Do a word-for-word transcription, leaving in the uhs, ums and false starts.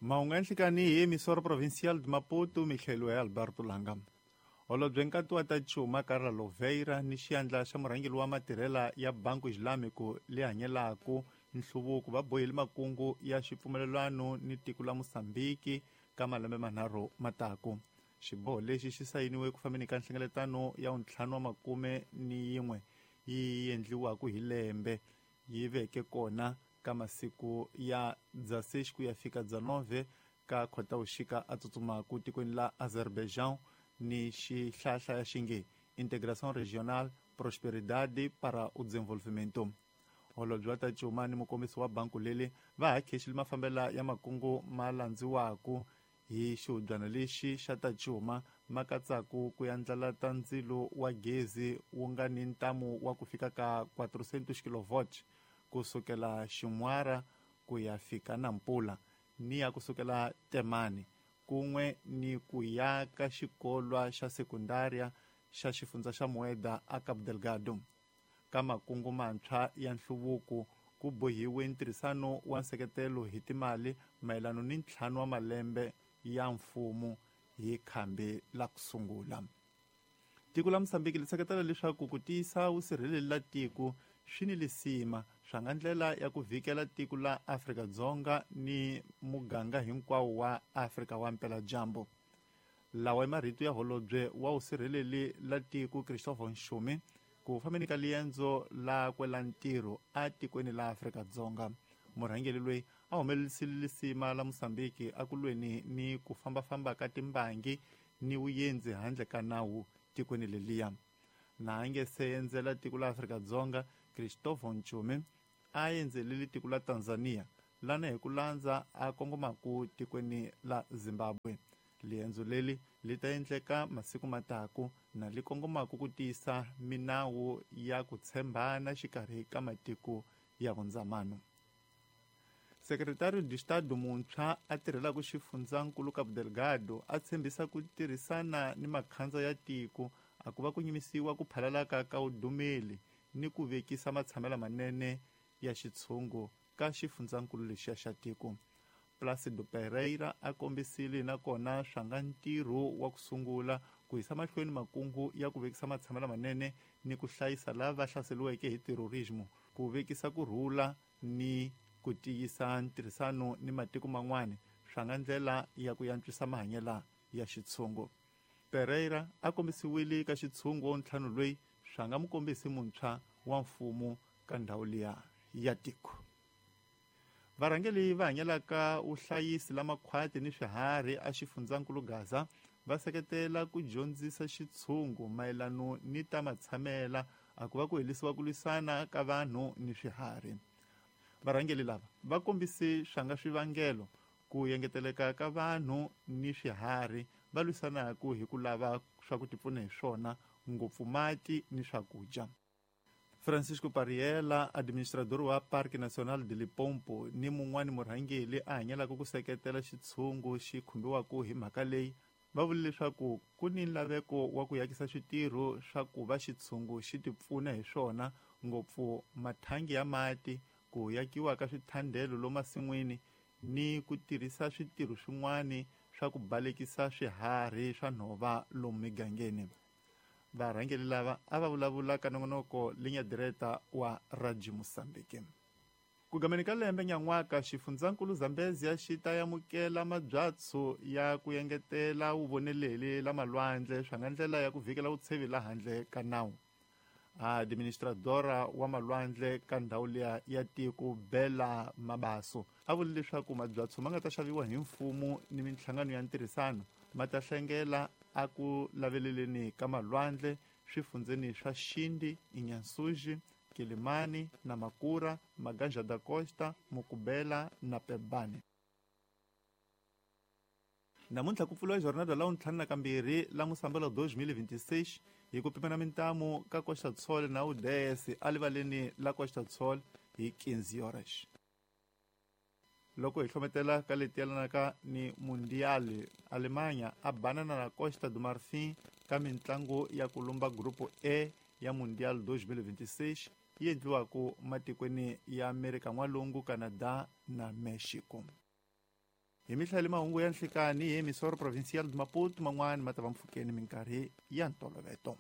Mahungu ya nhlikani hi emissora provincial de Maputo, mihlelo ya Alberto Langa. Holobye nkati wa ta Cuma Carla Louveira ni xiandla xa murhangeri wa matirhela ya Banco Islâmico leyi hanyelaka nhluvuko va bohile makungu ya xipfumelelwano ni tiko la Mozambique ka malembe manharhu mataku. Xiboho lexi xi sayiniwe ku fambeni ka nhlengeletano ya ntlhanu wa makume ni yin'we yi endliwaka hi lembe yi veke kona ka masiku ya dezesseis ku ya fika dezenove ka Khotavuxika a tsutsumaku tikweni la Azerbaijan ni xihlahla ya xinge Integração Regional Prosperidade para o Desenvolvimento. Holobye wa ta Cuma ni mukombisi wa banku leli va ha khexile mafambela ya makungu ma landziwaku hi xihubyana lexi xa ta Cuma ma katsaku ku yandlala ta ndzilo wa gezi wu nga ni ntamu wa ku fika ka quatrocentos kilovolts kusukela Xin'wara ku ya fika Nampula ni ya kusukela Temane kun'we ni ku ya ka xikolwa xa sekundaria xa xifundza xa Mueda a Cabo Delgado. Ka makungu mantshwa ya nhluvuko ku bohiwe ntirhisano wa nseketelo hi timali mayelana ni ntlhanu wa malembe ya mfumo hi khambi la ku sungula. Tiko la Mozambique li seketela leswaku ku tiyisa vusirheleri la tiko swi ni lisima swa nga ndlela ya ku vhikela tiko la Afrika-Dzonga ni muganga hinkwawo wa Afrika wa mpeladyambu. Lawa i marito ya holobye wa vusirheleri la tiko Christopher Nxumi ku fambeni ka liendzo lakwe la ntirho atikweni la Afrika-Dzonga. Murhangeri loyi a humelerisile lisima la Mozambique akulweni ni ku fambafamba ka timbangi ni vuyendzi handle ka nawu tikweni leliya. Na a nge se endzela tiko la Afrika-Dzonga, Christopher Nxumi a endzelile tiko la Tanzania lana hi ku landza a kongomaku tikweni la Zimbabwe. Liendzo leli li ta endleka masiku mataku na li kongomaku ku tiyisa minawu ya ku tshembana xikarhi ka matiko ya vundzamano. Secretário de Estado muntshwa a tirhelaka xifundzankulu Cabo Delgado a tshembisa ku tirhisana ni makhandza ya tiko a ku va ku nyimisiwa ku phalalaka ka vudumeli ni ku vekisa matshamelo manene ya xitshungu ka xifundzankulu lexiya xa tiko. Plácido Pereira a kombisile nakona swa nga ntirho wa ku sungula ku yisa mahlweni makungu ya ku vekisa matshamelo manene ni ku hlayisa lava hlaseriweke hi terrorismo, ku vekisa ku rhula ni ku tiyisa ntirhisano ni matiko man'wana swa nga ndlela ya ku yantswisa mahanyelo ya xitshungu. Pereira a kombisiwile ka xitshungu ntlhanu loyi swa nga mukombisi muntshwa wa mfumo ka ndhawu liya ya tiko. Varhangeri va hanyelaka vuhlayisi la makhwati ni swiharhi a xifundzankulu Gaza va seketela ku dyondzisa xitshungu mayelano ni ta matshamela a ku va ku helisiwa ku lwisana ka vanhu ni swiharhi. Varhangeri lava va kombise swa nga swivangelo ku engeteleka ka vanhu ni swiharhi va lwisanaka hi ku lava swa ku tipfuna hi swona ngopfu mati ni swakudya. Francisco Pariela, administrador wa Parque Nacional de Limpopo ni mun'wani murhangeri a hanyelaka ku seketela xitshungu xi khumbiwaka hi mhaka leyi va vule leswaku ku ni nlaveko wa ku yakisa switirho swa ku va xitshungu xi tipfuna hi swona ngopfu mathangi ya mati, ku yakiwa ka swithandelo lomasin'wini ni ku tirhisa switirho swin'wani swa ku balekisa swiharhi swa nhova lomu migangeni. Varhangeri lava a va vulavula ka nongonoko linya direta wa Radio Mozambique. Ku gameni ka lembe nyan'waka xifundzankulu Zambezia xi ta amukela mabyatso ya ku engetela vuvoneleli la malwandle swa nga ndlela ya ku vhikela vutshevi la handle ka nawu. Administradora wa malwandle ka ndhawu liya ya tiko Bela Mabaso a vule leswaku mabyatso ma nga ta xaviwa hi mfumo ni minhlangano ya ntirhisano ma ta hlengela a ku laveleleni ka malwandle swifundzeni swa Xindi, Inyansuji, Kilimani, Namakura, Maganja da Costa, Mukubela na Pebane. Namuntlha ku pfuriwa jornada la ntlhanu na kambirhi la Musambelo dois mil e vinte e seis hi ku pimana mintamu ka Costa do Sol na U D S alivaleni la Costa do Sol hi quinze horas. Loko hi hlometela ka leti yelanaka ni Mundial, Alemanha a banana na Costa do Marfim ka mintlangu ya ku lumba Grupo E ya Mundial dois mil e vinte e seis yi endliwaka matikweni ya Amerika N'walungu, Canada na Mexico. Hi mihlayeli mahungu ya nhlikani hi emissora provincial de Maputo, man'wani ma ta va mpfhukeni minkarhi ya ntoloveto.